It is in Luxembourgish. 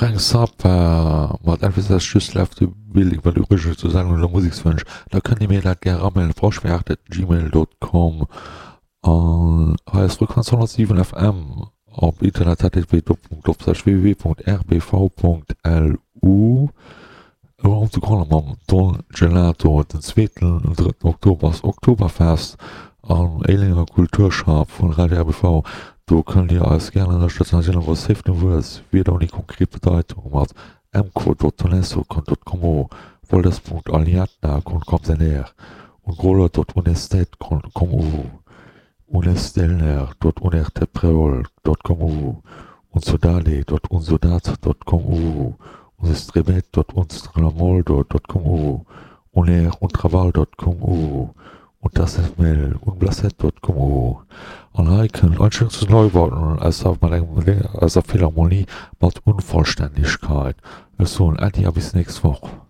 Frank Zappa mat Elvis Has Just Left the Building, wat übrigens zur Sendung der Musekswënsch, da kënnt Dir mir dat gär ramailen, froschwert@gmail.com. An hei ass Frequenz 107 FM op Internet http://www.rbv.lu. Elo op de Grond mam Don Gelato. Den zweeten an drëtten Oktober ass Oktoberfest am Éilenger Kulturschapp vun Radio RBV. Do kënnt Dir eis gären ënnerstëtzen. Hei sinn awer safe Wues, Wierder ouni konkret Bedeitung mat mco.tonesso con.como, voldes.aliatna con.comsener, ungroler.unestet.comu, unestelner.unertepreol.comu, unsodale.unsodat.comu, unstrebet.unstramoldo.comu, uneruntraval.comu, untasefmel unblacet.comu. An hei kënnt Einstürzende Neubauten aus der mat engem aus der Philharmonie mat Unvollständigkeit. Ech soen Äddi a bis nächst Woch.